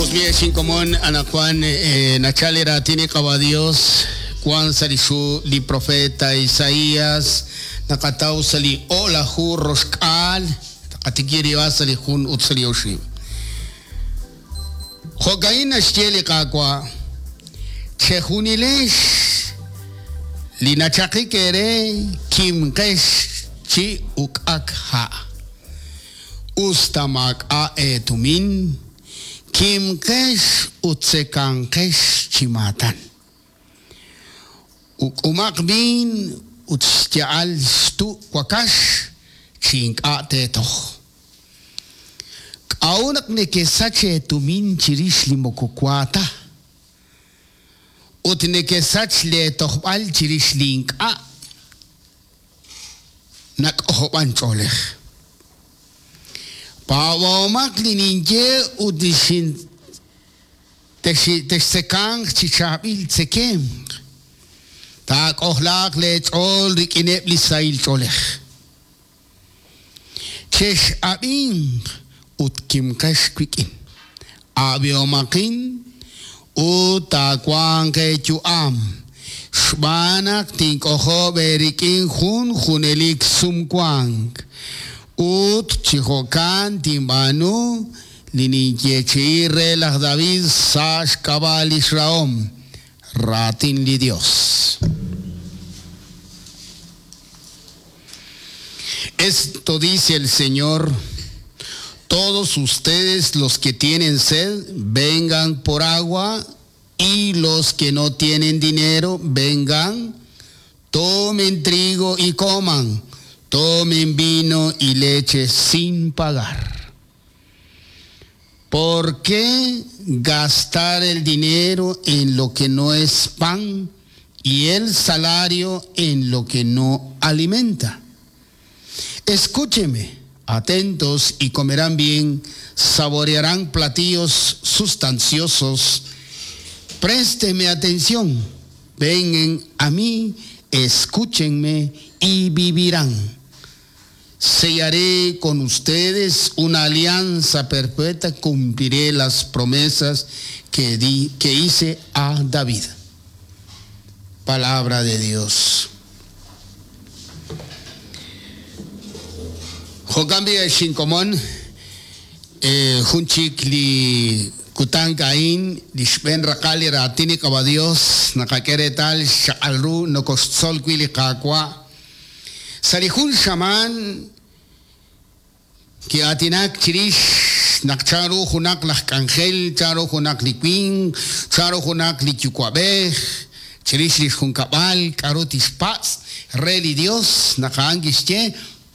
Us b'i' ex inkomon, anaqwan nachal li raatin li Qawa' Dios wan sa' lix hu li profeta Isaias, naqataw sa' li o'laju roxk'aal, taqatikib' rib'al sa' li jun ut sa' li oxib'. Jo'ka'in naxye li Qaawa', Chejunilex li nachaqik eere kimqex chi uk'ak ha'. Us ta maak'a' eetumin, kimqex ut tzekanqex chi maatan. Uk'umaq viin ut xya'al xtu' wakax chi ink'a' teetoj. K'a'ut naq nekesach eetumin chirix li moko wa ta, ut nekesach leetojb'al chirix li ink'a' nak'ojob'an ch'oolej? Paab'ahomaq li ninye ut textzekanq chi chaab'il tzekemq, taak'ojlaaq leech'ool rik'ineb' li sahil ch'oolej. Chex'ab'inq ut kimqex wik'in. Ab'ihomaqin ut taawanq eeyu'am, xb'aan naq tink'ojob' eerik'in jun junelik sumwank, ut chi jo'kan tinb'aanu li ninyeechi'i re laj David sa' xk'ab'a' lix rahom, raatin li Dios. Esto dice el Señor, todos ustedes los que tienen sed, vengan por agua, y los que no tienen dinero, vengan, tomen trigo y coman, tomen vino y leche sin pagar. ¿Por qué gastar el dinero en lo que no es pan y el salario en lo que no alimenta? Escúcheme, atentos y comerán bien, saborearán platillos sustanciosos. Présteme atención, vengan a mí, escúchenme y vivirán. Sellaré con ustedes una alianza perpetua, cumpliré las promesas que, di, que hice a David. Palabra de Dios. Jo'kan b'i' ex inkomon, jun chik li kutan a'in, li xb'een raqal li raatin li Qaawa' Dios, naqak'e reetal xchaq'al ru nokoxtzol wi' li Qaawa'. Sa' li jun xamaan ki'aatinak chirix naq chanru junaq laj k'anjel, chanru junaq li winq, chanru junaq li yuwa'b'ej, chirix lix junkab'al, k'a'ru tixpatz' re li Dios, naq a'an kixye,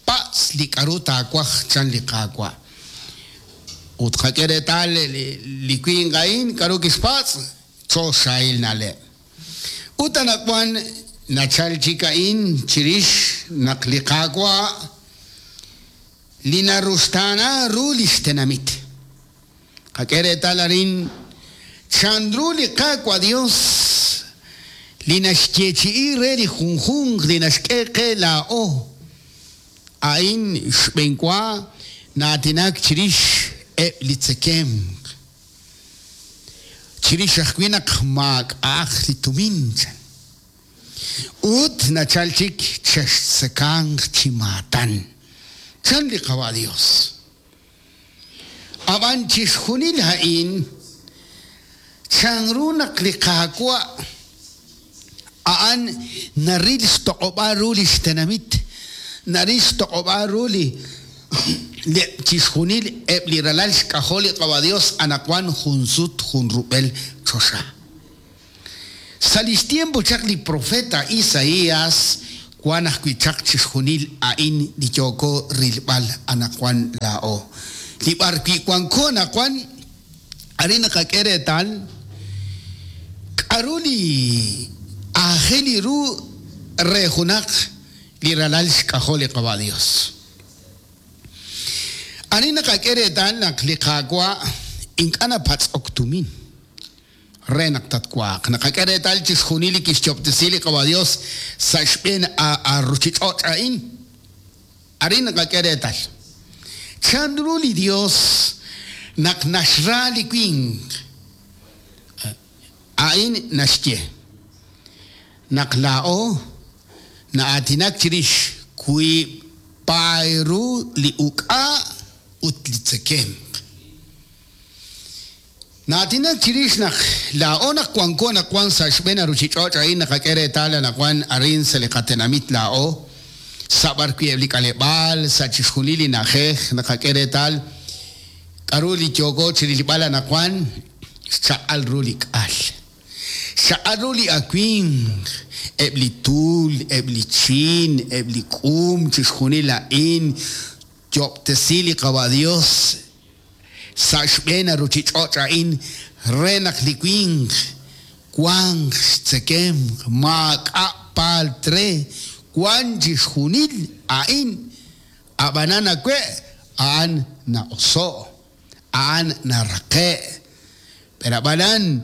Patz' li k'a'ru taawaj, chan li Qaawa'. Ut qak'e reetal li winq a'in k'a'ru kixpatz', choxahil na'leb'. Ut anaqwan nachal chik a'in chirix naq li Qaawa' li naruxtaana ru lix tenamit. Qak'e reetal arin chanru li Qaawa' Dios li naxyeechi'i re li junjunq li naxk'e qe laa'o. A'in xb'eenwa na'aatinak chirix eb' li tzekemq. Chirix ajwi' naq maak'a'aq li tumin, chan. Ut nachal chik chextzekanq chi maatan, chan li Qawa' Dios. Ab'an chixjunil a'in, chanru naq li Qaawa' a'an naril xtoq'ob'aal ru li xtenamit, naril xtoq'ob'aal ru li chixjunil eb' li ralal xk'ajol li Qawa' Dios anaqwan jun sut jun rub'el choxa. Sa' lix tiempo chaq li profeta Isaias wan ajwi' chaq chixjunil a'in li yooko rilb'al anaqwan laa'o. Li b'ar wi' wanko anaqwan, arin naqak'e reetal k'a'ru li aajel ru re junaq li ralal xk'ajol li Qawa' Dios. Arin naqak'e reetal naq li Qaawa' ink'a' napatz'ok tumin re naq tatwaaq. Naqak'e reetal chixjunil li kixyoob'tesi li Qawa' Dios sa' xb'een a ruchich'och' a'in. Arin naqak'e reetal chanru li Dios Naq naxra li winq. A'in naxye naq laa'o na'aatinak chirix wiib' paay ru li uk'a' ut li tzekemq. Na'aatinak chirix naq laa'o naq wanko anaqwan sa' xb'een a ruchich'och' a'in naqak'e reetal anaqwan arin sa' li qatenamit laa'o, sa' b'ar wi' eb' li k'aleb'aal, sa' chixjunil li na'ajej naqak'e reetal k'a'ru li yooko chirilb'al anaqwan, xchaq'al ru li k'al. Xchaq'al ru li awimq, eb' li tul, eb' li chiin, eb' li k'um, chixjunil a'in Yo'ob'tesi li Qawa' Dios sa' xb'een a ruchich'och' a'in re naq li winq wanq xtzekemq, maak'a' paalt re, wan chixjunil a'in, a'b'anan awe' a'an na'oso', a'an naraqe'. Pero a'b'anan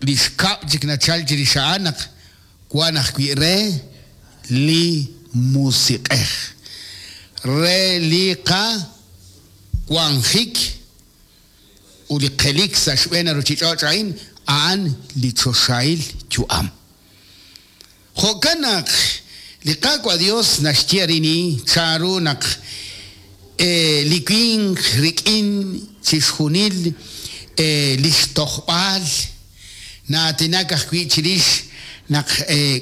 li xkab' chik nachal chirix a'an naq Wan ajwi' re li Musiq'ej, re li qawanjik ut li qelik sa' xb'een a ruchich'och' a'in, a'an li choxahil yu'am. Jo'kan naq li Qaawa' Dios naxye arin chanru naq li winq rik'in chixjunil lix tojb'al, Na'aatinak ajwi' chirix naq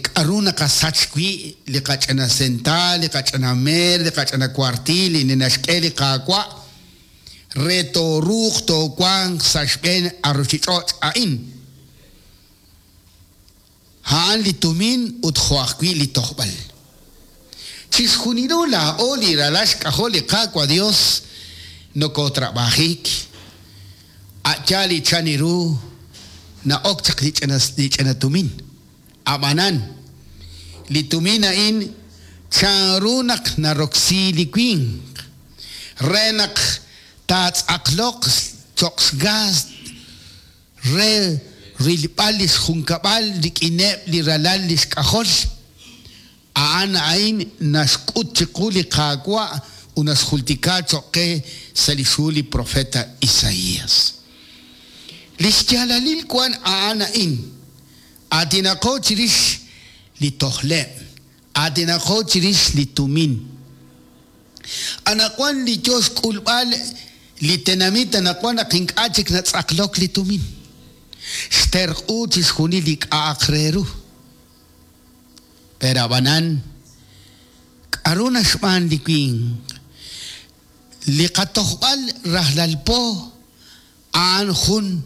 k'aru naqasach wi' li qach'ina sentaal, li qach'ina meer, li qach'ina kuartiil li naxk'e li Qaawa' re tooruuq toowanq sa' xb'een a ruchich'och' a'in. A'an li tumin ut jo' ajwi' li tojb'al. Chixjunilo laa'o li ralal xk'ajol li Qaawa' Dios nokotrab'ajik, a' yaal li chan ru na'ok chaq li ch'ina li ch'ina tumin. A'b'anan, li tumin a'in chanru naq naroksi li winq re naq taatz'aqloq cho'q xgaast re rilb'al lix junkab'al rik'ineb' li ralal lix k'ajol. A'an a'in naxk'ut chiqu li Qaawa' ut naxjultika choq' qe sa' lix hu li profeta Isaias. Lix yaalalil wan a'an a'in, Aatinaqo chirix li tojleb', aatinaqo chirix li tumin. Anaqwan li yo xk'ulb'al li tenamit anaqwan naq ink'a' chik natz'aqlok li tumin. Xterq'u chixjunil li k'a'aq re ru. Pero ab'anan, k'aru naxb'aan li winq? Li qatojb'al rajlal po a'an jun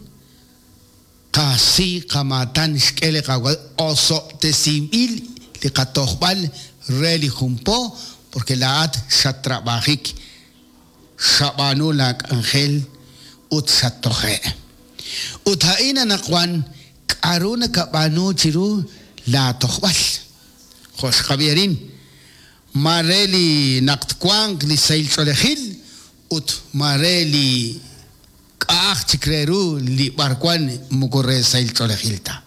Qasi qamaatan xk'e li Qaawa' osob'tesinb'il li qatojb'al re li jun po, porque laa'at xattrab'ajik, xab'aanu laa k'anjel ut xattoje'. Ut a'in anaqwan k'a'ru nakab'aanu chiru laa tojb'al? Jo' xqab'i arin, ma re li naq twanq li sahil ch'oolejil ut ma re li K'a'aj chik re ru li b'arwan moko re sahil ch'oolejil ta.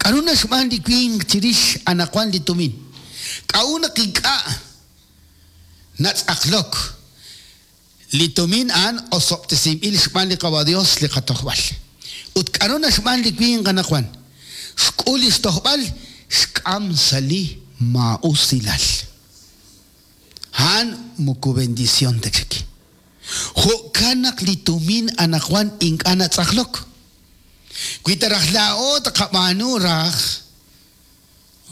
K'a'ru naxb'aan li winq chirix anaqwan li tumin? K'a'ut naq ink'a' natz'aqlok li tumin a'an osob'tesinb'il xb'aan li Qawa' Dios li qatojb'al? Ut k'a'ru naxb'aan li winq anaqwan? Xk'ul lix tojb'al, xk'am sa' li maa'usilal. A'an moko bendición ta chik. Jo'kan naq li tumin anaqwan ink'a' natz'aqlok. Wi ta raj laa'o tqab'aanu raj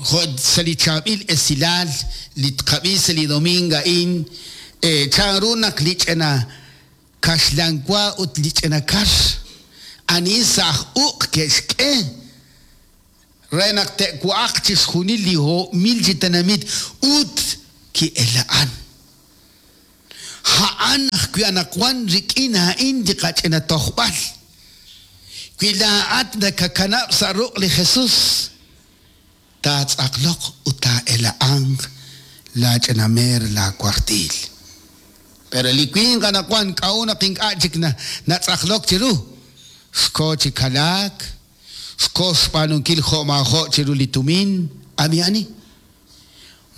jo' sa' li chaab'il esilal li tqab'i sa' li domingo a'in, chanru naq li ch'ina kaxlan wa ut li ch'ina kar ani sa' aj uq' ke'xk'e re naq te'wa'aq chixjunil li ho'mil chi tenamit ut ki'ela'an. A'an ajwi' anaqwan rik'in a'in li qach'ina tojb'al. Wi laa'at nakakanab' sa' ruq' li Jesus, taatz'aqloq ut taa'ela'anq laa ch'ina meer laa wartiil. Pero li winq anaqwan k'a'ut naq ink'a' chik natz'aqlok chiru? Xko chi kalaak, xko xb'aanunkil jo' maajo' chiru li tumin, ab'i ani?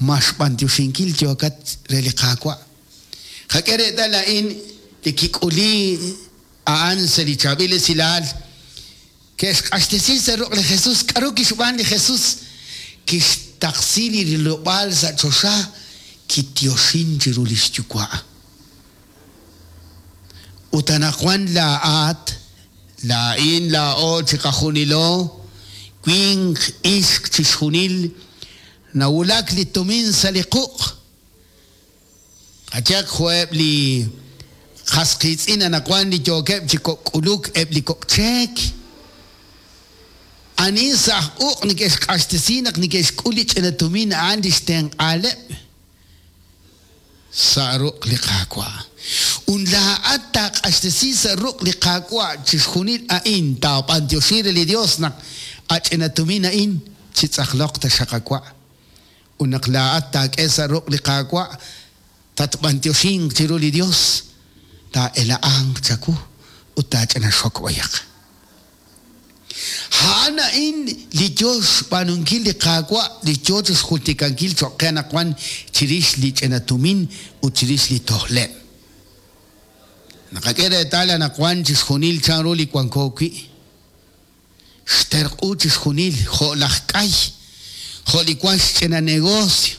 Ma xb'antioxinkil yookat re li Qaawa'? Qak'e reetal a'in li kik'uli. a'an sa' li Chaab'il Esilal, ke'xq'axtesi sa' ruq' li Jesus. K'aru kixb'aan li Jesus? Kixtaqsi li rilob'aal sa' choxa, kityoxin chiru li xYuwa'. Ut anaqwan laa'at, laa'in, laa'o chiqajunilo, winq, ixq, chixjunil, nawulak li tumin sa' li quq'. Qayehaq jo'eb' li qas qiitz'in anaqwan li yookeb' chi kok' k'uluk eb' li kok' cheek. Ani sa' aj uq' neke'xq'axtesi naq neke'xk'ul li ch'ina tumin a'an li xtenq'aaleb'? Sa' ruq' li Qaawa'. Ut laa'at taaq'axtesi sa' ruq' li Qaawa' chixjunil a'in, taab'antioxi re li Dios naq a ch'ina tumin a'in chitz'aqloq taxaq awa'. Ut naq laa'at taak'e sa' ruq' li Qaawa', tatb'antioxinq chiru li Dios, taa'ela'anq chawu ut taach'ina xok b'ayaq. A'an a'in li yoo xb'aanunkil li Qaawa' li yoo chixjultikankil choq' qe anaqwan chirix li ch'ina tumin ut chirix li tojleb'. Naqak'e reetal anaqwan chixjunil chanru li wanko wi'. Xterq'u chixjunil jo' laj k'ay, jo' li wan xch'ina negocio.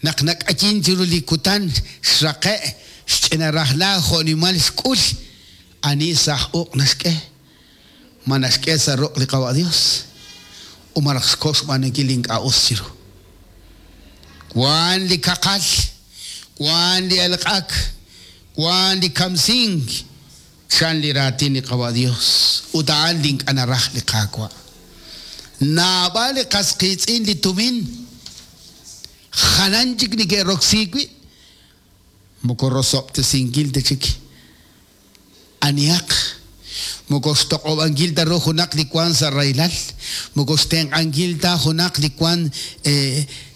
Naq nak'ayin chiru li kutan xraqe' xch'ina rajla jo' nimal xk'ul, ani sa' aj uq' naxk'e? Ma naxk'e sa' ruq' li Qawa' Dios? U malaj xko xb'aanunkil li ink'a' us chiru? Wan li kaqal, wan li elq'ak, wan li kamsink, chan li raatin li Qawa' Dios, ut a'an li ink'a' naraj li Qaawa'. Naab'al li qas qiitz'in li tumin jalan chik neke'roksi wi', moko rosob'tesinkil ta chik anihaq, moko xtoq'ob'ankil ta ru junaq li wank sa' rahilal, moko xtenq'ankil ta junaq li wank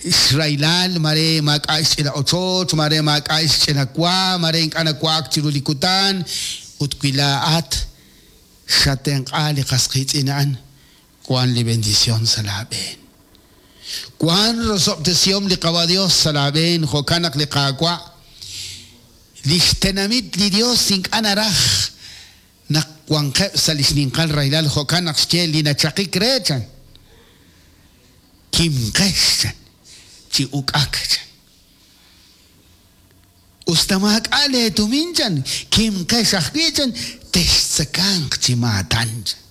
xrahilal, mare maak'a' xch'ina ochoch, mare maak'a' xch'ina wa, mare ink'a' nawa'ak chiru li kutan, ut wi laa'at xatenq'a li qas qiitz'in a'an, wan li bendición sa' laa b'een. Wan rosob'tesihom li Qawa' Dios sa' laa b'een, jo'kan naq li Qaawa', lix tenamit li Dios ink'a' naraj naq wanqeb' sa' li xninqal rahilal, jo'kan naq xye li nachaqik re, chan, Kimqex, chan, chi uk'ak, chan. Us ta maak'a' leetumin, chan, kimqex ajwi', chan, textzekanq chi maatan, chan.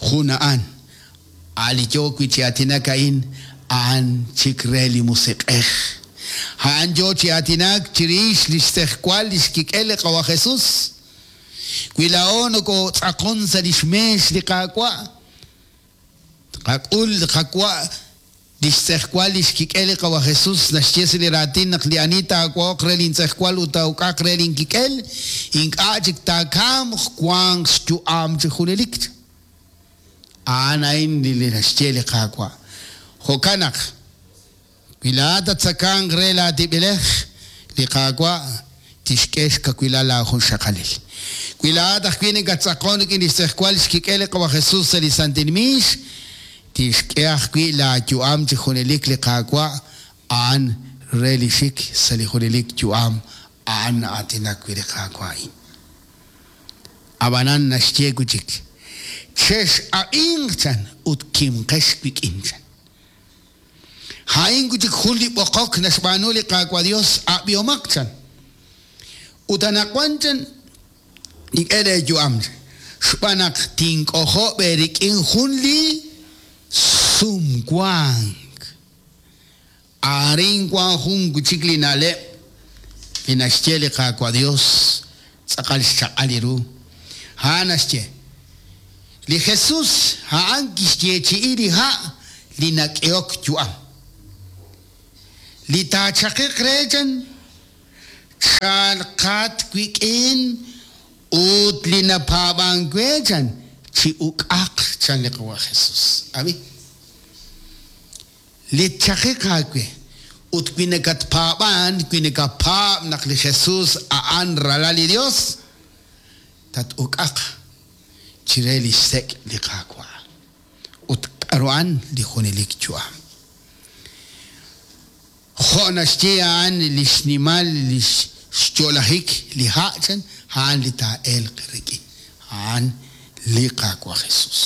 Jun a'an, a' li yoo wi' chi aatinak a'in, a'an chik re li Musiq'ej. A'an yoo chi aatinak chirix lix tz'ejwal lix kik'el li Qawa' Jesus. Wi laa'o nokotz'aqon sa' lix meex li Qaawa', tqak'ul li qawa' Lix tz'ejwal lix kik'el li Qawa' Jesus naxye sa' li raatin naq li ani taawa'oq re lin tz'ejwal ut taa'uk'aq re lin kik'el, ink'a' chik taakamq, wanq xyu'am chi junelik. A'an a'in li naxye li Qaawa'. Jo'kan naq, wi laa'at tattzakanq re laa tib'elej, li Qaawa' tixk'e xkawilal laajunxaqalil. Wi laa'at ajwi' nakattz'aqon rik'in lix tz'ejwal xkik'el li Qawa' Jesus sa' li santil miix, Tixk'e ajwi' laayu'am chi junelik li Qaawa', a'an re li xik sa' li junelik yu'am, a'an na'aatinak wi' li Qaawa' a'in. Ab'anan naxye wi' chik, Chex'ab'inq, chan, ut kimqex wik'in, chan. A'in wi' chik jun li b'oqok naxb'aanu li Qaawa' Yos, ab'ihomaq, chan. Ut anaqwan, chan, Nink'e leeyu'am, xb'aan naq tink'ojob' eerik'in jun li sumwank. Arin wank jun wi' chik li na'leb' li naxye li Qaawa' Yos tz'aqal xchaq'al li ru. A'an naxye, Li Jesus a'an kixyeechi'i li ha' li nak'ehok yu'am. Li taachaqiq re chan, Chalqat wik'in ut li napaab'ank we, chan, chi uk'aq, chan li Qawa' Jesus. Ab'i. Li tchaqiq aawe, ut wi nakatpaab'ank, wi nakapaab' naq li Jesus a'an Ralal li Dios, tat-uk'aq chire lix sek' li Qaawa'. Ut k'a'ru a'an li junelik yu'am? Jo' naxye a'an li xnimal li xyo'lajik li ha' chan, a'an li taa'elq rik'in, a'an li Qaawa' Jesus.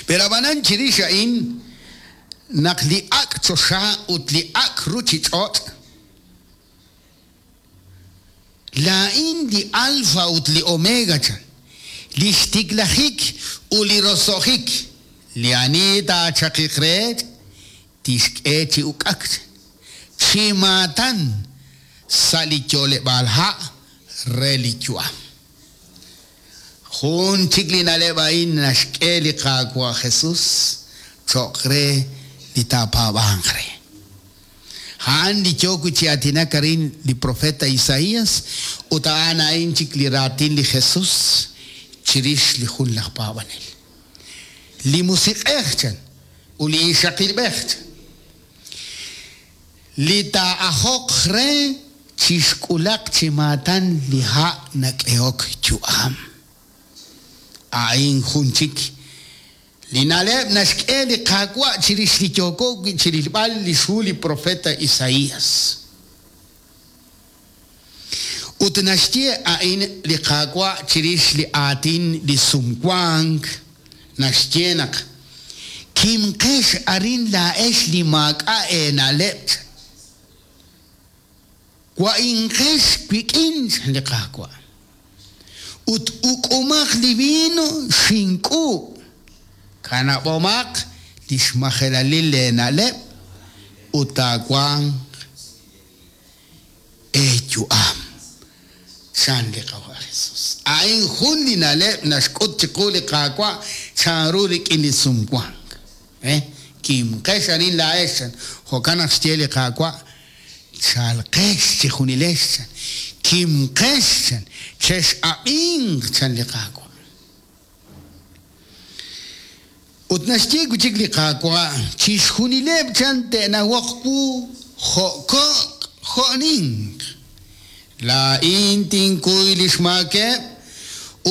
Pero ab'anan chirix a'in naq li ak' choxa ut li ak' ruchich'och', Laa'in li Alfa ut li Omega, chan, li xtiklajik ut li roso'jik, li ani taachaqiq re, tixk'e chi uk'ak, chan, chi maatan sa' li yo'leb'aal ha' re li yu'am. Jun chik li na'leb' a'in naxk'e li Qaawa' Jesus cho'q re li taapaab'anq re. A'an li yook wi' chi aatinak arin li profeta Isaías ut a'an a'in chik li raatin li Jesus chirix li jun laj paab'anel. Li Musiq'ej, chan, ut li ixaqilb'ej, chan. Li taa'ajoq re chixk'ulaq chi maatan li ha' nak'ehok yu'am. A'in jun chik li na'leb' naxk'e li Qaawa' chirix li yooko wi' chirilb'al lix hu li profeta Isaias. Ut naxye a'in li Qaawa' chirix li aatin li sumwank, naxye naq, Kimqex arin laa'ex li maak'a' eena'leb', chan. Wa'inqex wik'in, chan li Qaawa', ut uk'umaq li vino xink'uub', kanab'omaq li xmajelalil leena'leb' ut taawanq eeyu'am, chan li Qawa' Jesus. A'in jun li na'leb' naxk'ut chiqu li Qaawa' chanru rik'in li sumwank. Kimqex arin laa'ex, chan. Jo'kan naq xye li Qaawa', Chalqex chejunilex, chan. Kimqex, chan. Chex'ab'inq, chan li Qaawa'. Ut naxye wi' chik li Qaawa', Chixjunileb' chan te'nawoq wu jo' kok' jo' ninq. Laa'in tinkuy li xmaakeb'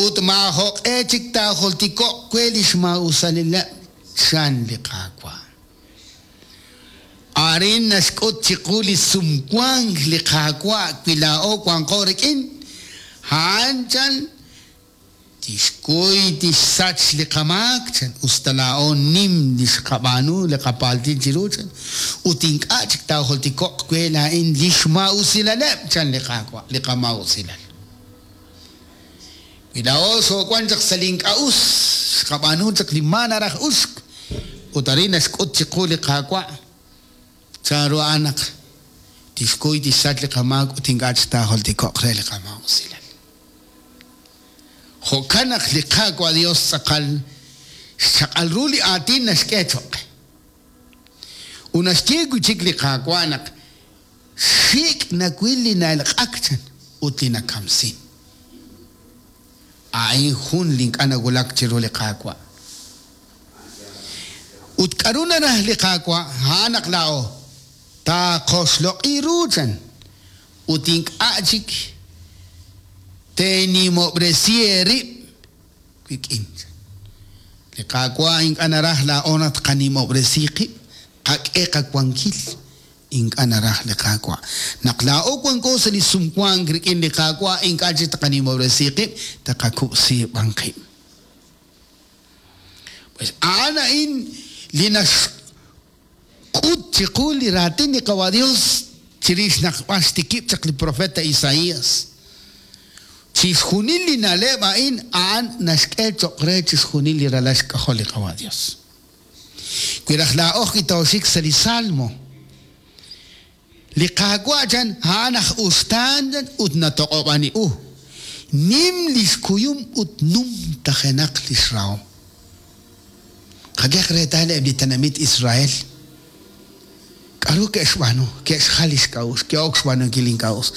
ut maajoq'e chik taajultiko'q we li xmaa'usalileb', chan li Qaawa'. Arin naxk'ut chiqu li sumwank li Qaawa' wi laa'o wanqo rik'in, a'an chan Tixkuy tixsach li qamaak, chan, us ta laa'o nim li xqab'aanu li qapaaltil chiru, chan, ut ink'a' chik taajultiko'q we laa'in li xmaa'usilaleb', chan li Qaawa', li qamaa'usilal. Wi laa'o xoowank chaq sa' li ink'a' us, xqab'aanu chaq li maa naraj uxk, ut arin naxk'ut chiqu li Qaawa' chanru a'an naq tixkuy tixsach li qamaak ut ink'a' chik taajultiko'q re li qamaa'usilal. Jo'kan naq li Qaawa' Dios tz'aqal xchaq'al ru li aatin naxk'e choq' qe. Ut naxye wi' chik li Qaawa' naq xik' nawil li na'elq'ak chan ut li nakamsin. A'in jun li ink'a' nawulak chiru li Qaawa'. Ut k'aru naraj li Qaawa'? A'an naq laa'o taqoxloq'i ru chan ut ink'a' chik teenimob'resi eerib' wik'in. Li Qaawa' ink'a' naraj laa'o naq tqanimob'resi qib', tqak'e qawankil. Ink'a' naraj li Qaawa'. Naq laa'o wanko sa' li sumwank rik'in li Qaawa' ink'a' chik tqanimob'resi qib', tqakub'si b'an qib'. Pues a'an a'in li nax. K'ut chiqu li raatin li Qawa' Dios chirix naq b'ar xtikib' chaq li profeta Isaias. Chixjunil li na'leb' a'in a'an naxk'e choq' re chixjunil li ralal xk'ajol li Qawa' Dios. Wi raj laa'o ajwi' tooxik sa' li Salmo, Li Qaawa' chan, a'an aj uxtaan chan ut natoq'ob'an u. Nim li xkuyum ut numtajenaq li xrahom. Qak'ehaq reetal eb' li tenamit Israel. K'aru ke'xb'aanu? Ke'xjal li xk'a'uxl, ke'ok xb'aanunkil li ink'a' us.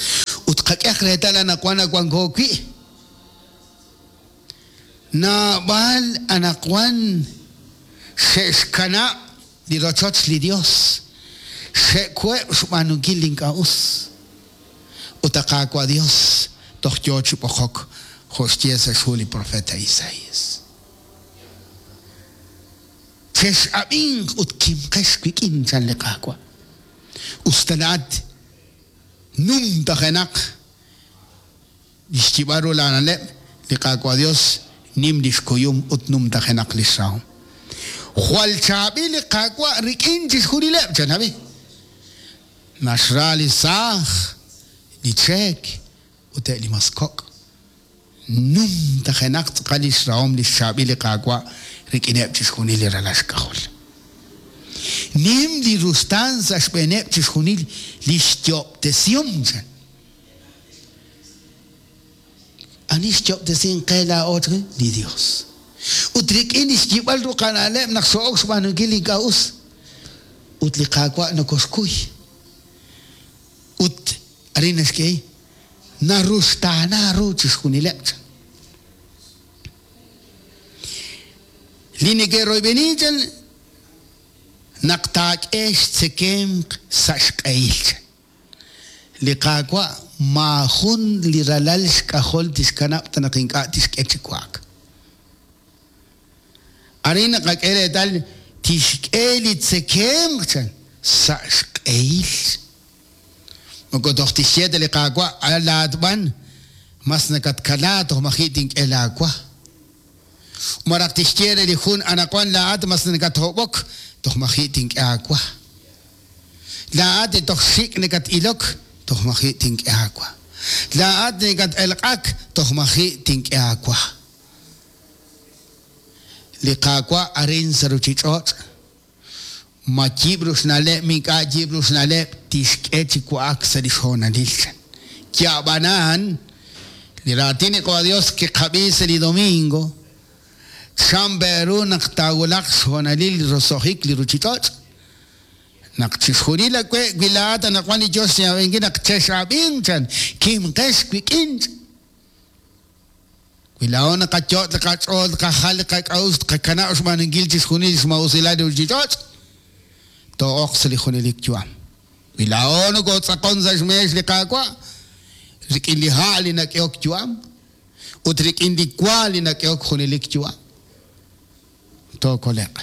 Ut qak'ehaq reetal anaqwan wanko wi'. Naab'al anaqwan xe'xkanab' li rochoch li Yos, xe'web' xb'aanunkil li ink'a' us. Ut a Qaawa' Yos toj yo chi b'oqok, jo' xye sa' xhu li propeet Isaías. Chex'ab'inq ut kimqex wik'in, chan li Qaawa'. Us ta laa'at. Numtajenaq li xyib'al ru laana'leb', li Qaawa' Yos nim li xkuyum ut numtajenaq li xrahom. Jwal chaab'il li Qaawa' rik'in chixjunileb', chan David. Naxra li saaj, li cheek ut eb' li mas kok'. Numtajenaq tz'aqal li xrahom li xchaab'il li Qaawa' rik'ineb' chixjunil li ralal xk'ajol. Nim li ruxtaan sa' xb'eeneb' chixjunil li xyo'ob'tesihom, chan. Ani xyo'ob'tesink qe laa'o chan? Li Yos. Ut rik'in li xyib'al ru qana'leb' naq xoo'ok xb'aanunkil li ink'a' us, ut li Qaawa' nokoxkuy. Ut arin naxk'e Naruxtaana ru chixjunileb', chan. Li neke'royb'eni, chan, naq taak'e xtzekemq sa' xq'ehil, chan. Li Qaawa' maajun li ralal xk'ajol tixkanab' ta naq ink'a' tixk'e chi wa'ak. Arin naqak'e reetal tixk'e li tzekemq, chan, sa' xq'ehil. Moko toj tixye ta li Qaawa', Laa'at b'an mas nakatkala toj maji' tink'e laawa. Malaj tixye re li jun, Anaqwan laa'at mas nakathob'ok toj maji' tink'e aawa. Laa'at li toj xik' nakat-ilok toj maji' tink'e aawa. Laa'at li nakat-elq'ak toj maji' tink'e aawa. Li Qaawa' arin sa' ruuchich'och'. Ma yib' ru xna'leb' ma ink'a' yib' ru xna'leb' tixk'e chi wa'ak sa' li xhoonalil, chan. Ya'b'anan, li raatin li Q'uwa' Dios kiqab'i sa' li domingo, chan pe' ru naq taawulaq xhoonalil li roso'jik li ruchich'och'? Naq chixjunil awe' wi laa'at anaqwan li yoo xyaab'inkil naq chex'ab'inq, chan, kimqex wik'in, chan. Wi laa'o naqayot' li qach'ool, tqajal li qak'a'uxl, tqakanab' xb'aanunkil chixjunil li xmaa'usilal li ruuchich'och', too'oq sa' li junelik yu'am. Wi laa'o nokootz'aqon sa' xmeex li Qaawa' rik'in li ha' li nak'ehok yu'am ut rik'in li wa li nak'ehok junelik yu'am, tookole'q.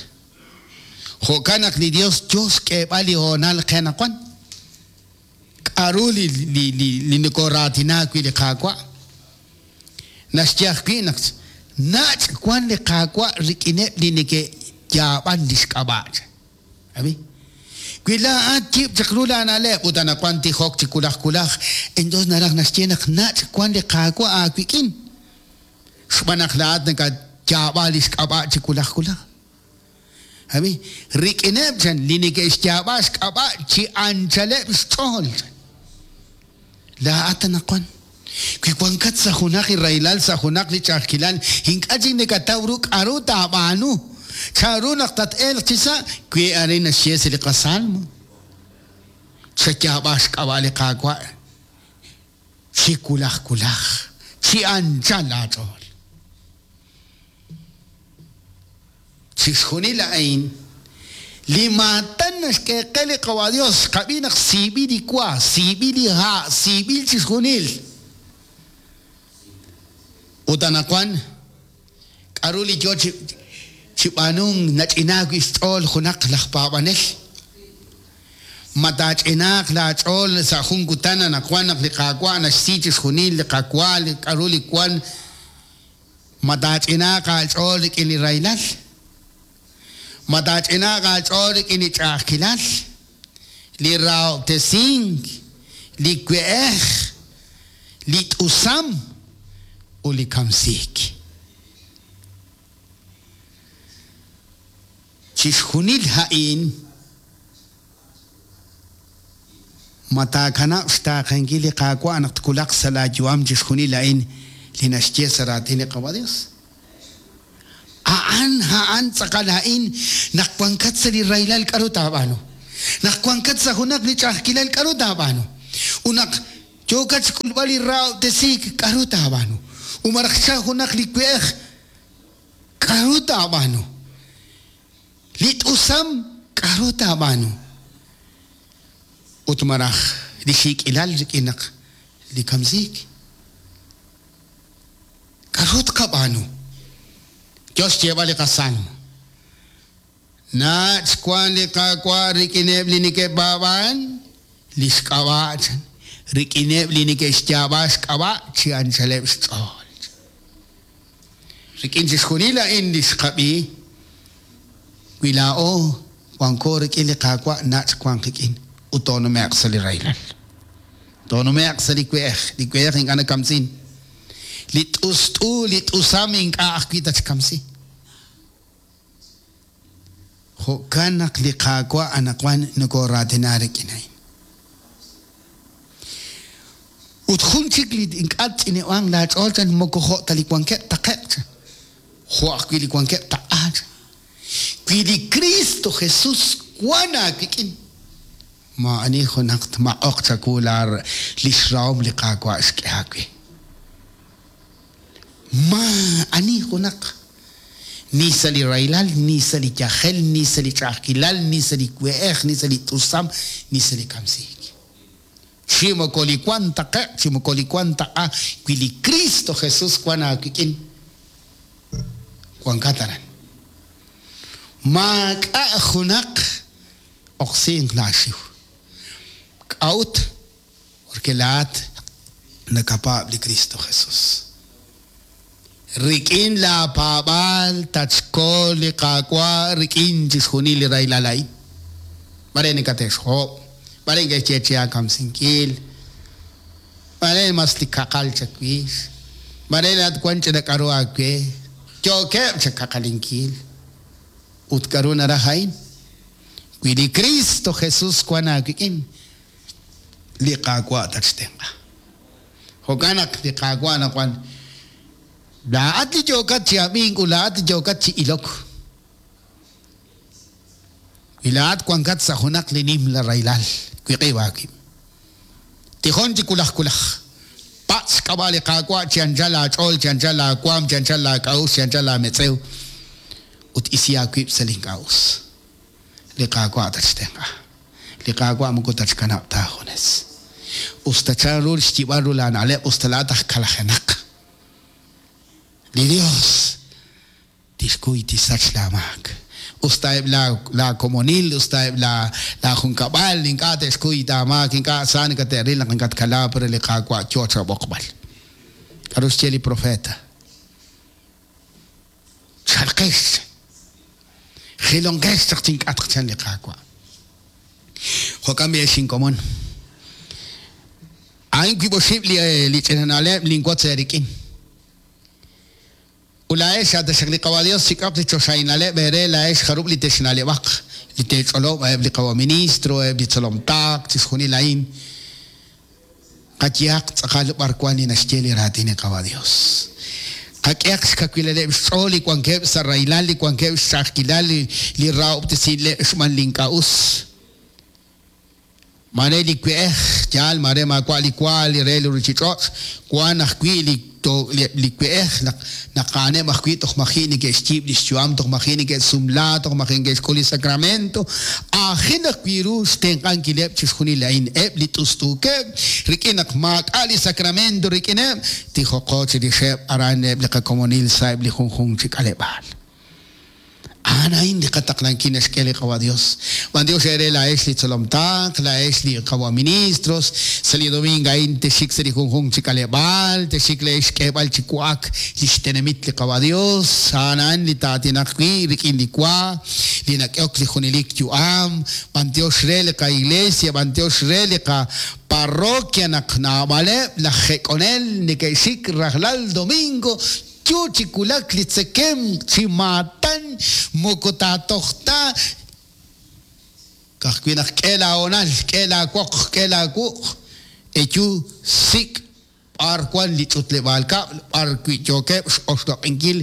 Jo'kan naq li Yos yo xk'eeb'al li hoonal qe anaqwan. K'aru li nokooraatina wi' li Qaawa'? Naxye ajwi' naq nach' wank li Qaawa' rik'ineb' li neke'yaab'an li xk'ab'a'. Ab'i. Wi laa'at yib' chaq ru laana'leb' ut anaqwan tijok chi wulaj wulaj, entonces naraj naxye naq nach' wank li Qaawa' aawik'in, xb'aan naq laa'at nakatyaab'a li xk'ab'a' chi wulaj wulaj. Ab'i, rik'ineb' chan li neke'xyaab'a xk'ab'a' chi anchaleb' xch'ool, chan. Laa'at anaqwan, wi wankat sa' junaq li rahilal, sa' junaq li ch'a'ajkilal, ink'a' chik nakataw ru k'aru taab'aanu, chanru naq tat-elq chisa', wi arin naxye sa' li qasalmo, Chayaab'a xk'ab'a' li Qaawa' chi wulaj wulaj, chi anchal aach'ool. Chixjunil a'in, li maatan naxk'e qe li Qawa' Dios, xqab'i naq siib'il li wa, siib'il li ha', siib'il chixjunil. Ut anaqwan, k'a'ru li yoo chi chi b'aanunk nach'inaak wi' xch'ool junaq laj paab'anel? Ma taach'inaaq laa ch'ool sa' jun kutan anaqwan naq li Qaawa' naxsi chixjunil li qawa, li k'a'ru li wan, Ma taach'inaaq aach'ool rik'in li rahilal? Ma taach'inaaq aach'ool rik'in li ch'a'ajkilal, li rahob'tesink, li we'ej, li t'usam, ut li kamsiik? Chixjunil a'in, ma taakanab' xtaaqenkil li Qaawa' naq twulaq sa' laayu'am chixjunil a'in li naxye sa' raatin li Qaawa' Dios? A'an, a'an tz'aqal a'in, naq wankat sa' li rahilal k'aru taab'aanu? Naq wankat sa' junaq li ch'a'ajkilal k'aru taab'aanu? Ut naq yookat xk'ulb'al li rahob'tesiik k'aru taab'aanu? Ut malaj xchalk junaq li we'ej k'aru taab'aanu? Li t'usam k'aru taab'aanu? Ut malaj li xiik'ilal rik'in naq li kamsiik? K'aru tqab'aanu? Yo xyeeb'al li qasalmo, Nach' wank li Qaawa' rik'ineb' li neke'paab'ank li xk'ab'a' chan. rik'ineb' li neke'xyaab'a xk'ab'a' chi anchaleb' xch'ool. Rik'in chixjunil a'in li xqab'i, wi laa'o wanko rik'in li Qaawa' nach' wank qik'in ut toonume'q sa' li rahilal. Toonume'q sa' li we'ej, li we'ej ink'a' nakamsin. Li t'ust'u, li t'usam ink'a' ajwi' tatxkamsi. Jo'kan naq li Qaawa' anaqwan nokooraatina rik'in a'in. Ut jun chik li ink'a' tch'ineb'anq laach'ool chan moko jo' ta li wankeb' taqe'q chan, jo' ajwi' li wankeb' taq'a chan. Wi li Kristo Jesus wank aawik'in, maa'ani junaq tmaq'oq chawu li xrahom li Qaawa' xk'e aawe. Maa'ani junaq, ni sa' li rahilal, ni sa' li yajel, ni sa' li ch'a'ajkilal, ni sa' li we'ej, ni sa' li t'usam, ni sa' li kamsiik. Chi moko li wank taqe'q, chi moko li wank taq'a, wi li Kristo Jesus wank aawik'in, wankat aran. Maak'a' junaq oqsinq laaxiw. K'a'ut? Porque laa'at nakapaab' li Kristo Jesus. Rik'in laapaab'aal tatxkol li Qaawa' rik'in chixjunil li rahilal a'in. Mare nakate'xhob', mare neke'xye che aakamsinkil, mare mas li kaqal chawix, mare laa'at wank ch'ina k'aru aawe, yookeb' chakaqalinkil. Ut k'aru naraj a'in? Wi li Kristo Jesus wank aawik'in, li Qaawa' tatxtenq'a. Jo'kan naq li Qaawa' anaqwan, laa'at li yookat chi ab'ink ut laa'at li yookat chi ilok, wi laa'at wankat sa' junaq li nimla rahilal, wiq'ib' aawib'. Tijon chi wulaj wulaj. Patz' xk'ab'a' li Qaawa' chi anchal aach'ool, chi anchal aawaanm, chi anchal laak'a'uxl, chi anchal laametz'ew, ut isi aawib' sa' li ink'a' us. Li Qaawa' tatxtenq'a. Li Qaawa' moko tatxkanab' ta aajunes. Us ta chan ru xyib'al ru laana'leb', us ta laa'at aj kalajenaq, li Dios tixkuy tixsach laamaak. Us ta eb' laa komonil, us ta eb' laa junkab'al ink'a' te'xkuy aamaak, ink'a' sa nakate'ril naq nakatkalaak, pero li Qaawa' yoo chaab'oqb'al. K'aru xye li profeta? Chalqex, jilonqex chaq chink'atq, chan li Qaawa'. Jo'kan b'i' ex inkomon. A'in wiib' oxib' li ch'ina na'leb' linwotz eerik'in. Ut laa'ex, a' taxaq li Qawa' Dios chik'oq li choxahil na'leb' eere laa'ex jarub' li texna'leb'aq, li teech'olob' a'eb' li Qawa' Ministro, eb' li tzolom taq, chixjunil a'in. Qayehaq tz'aqal b'ar wank li naxye li Raatin li Qawa' Dios. Qak'ehaq xkawilaleb' xch'ool li wankeb' sa' rahilal, li wankeb' xch'a'ajkilal, li rahob'tesinb'ileb' xb'aan li ink'a' us. Maare li we'ej, yaal, maare maawa' li wa li re li ruchich'och', wan ajwi' li li we'ej naq naq a'aneb' ajwi' toj maji' neke'xyiib' lix yu'am, toj maji' neke'sumla, toj maji' neke'xk'ul li sacramento. Aajel ajwi' ru xtenq'ankileb' chixjunil a'in, eb' li t'ust'uukeb', rik'in naq maak'a' li sacramento rik'ineb', tijoqo chirixeb' aran eb' li qakomonil sa'eb' li junjunq chi k'aleb'aal. A'an a'in li qataqlankil naxk'e li Qawa' Dios. B'antiox eere laa'ex li tzolom taql, laa'ex li Qawa' ministros, sa' li domingo a'in texxik sa' li junjunq chi k'aleb'aal, texxik leex xk'eeb'al chi wa'ak lix tenamit li Qawa' Dios. A'an a'an li taa'aatinaq wi' rik'in li wa li nak'ehok li junelik yu'am. B'antiox re li qa-iglesia, b'antiox re li qa-parroquia naq naab'aleb' laj jek'onel neke'xik rajlal domingo Yo chi wulak li tzekemq chi maatan moko taatoj ta, ka'ajwi' naq k'e laahoonal, k'e laawoq, k'e laawuq', eyu sik' b'ar wank li ch'utleb'aal kab'l b'ar wi' yookeb' x'oxloq'inkil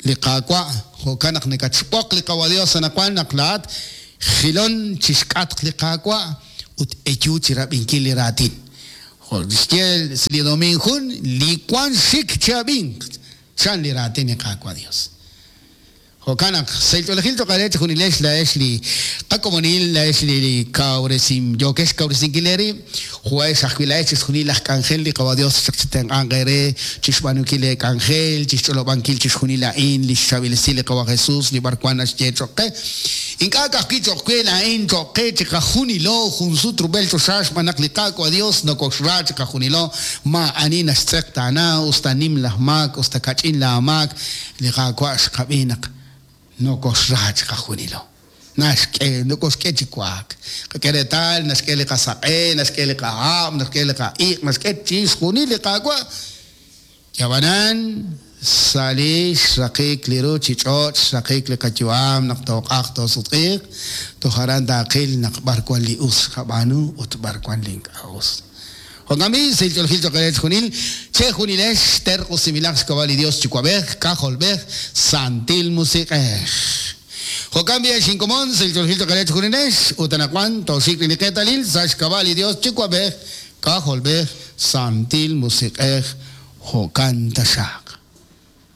li Qaawa'. Jo'kan naq nakatxb'oq li Qawa' Yos anaqwan naq laa'at jilon chi xk'atq li Qaawa' ut eyu chi rab'inkil li raatin. Jo' kixye sa' li domiin jun, li wank xik chi'ab'inq, chan li raatin li Qaawa' Dios. Jo'kan naq, sahil ch'oolejil cho'q eere chejunilex laa'ex li qakomonil, laa'ex li kawresin yookex xkawresinkil eerib', jo'ex ajwi' laa'ex chixjunil laj k'anjel li Qawa' Dios chaq chitenq'anq eere chixb'aanunkil leek'anjel, chixch'olob'ankil chixjunil a'in li xchaab'il esil li Qawa' Jesus li b'arwan naxye cho'q qe. Ink'a' ka'ajwi' cho'q we laa'in, cho'q qe chiqajunilo junsut rub'el choxa xb'aan naq li Qaawa' Dios nokoxra chiqajunilo, maa'ani naxtz'eqtaana, us ta nim laj maak, us ta kach'in laamaak, Li Qaawa' xqab'i naq nokoxra chiqajunilo. Naxk'e, nokoxk'e chi wa'ak. Qak'e reetal, naxk'e li qasaq'e, naxk'e li qahab', naxk'e li qa'iq', naxk'e chixjunil li Qaawa'. Ab'anan, sa' li xraqik li ruuchich'och', xraqik li qayu'am naq tooq'ajq toosutq'iiq, toj aran taaqil naq b'ar wan li us xqab'aanu ut b'ar wan li ink'a' us. Jo'kan b'i', sahil ch'oolejil cho'q eere chejunil, chejunilex terq'usinb'ilaq xk'ab'a' li Yos Yuwa'b'ej, K'ajolb'ej, Santil Musiq'ej. Jo'kan b'i' ex inkomon, sahil ch'oolejil cho'q eere chejunilex, ut anaqwan tooxik rik'in li qeetalil sa' xk'ab'a' li Yos Yuwa'b'ej, K'ajolb'ej, Santil Musiq'ej. Jo'kan taxaq.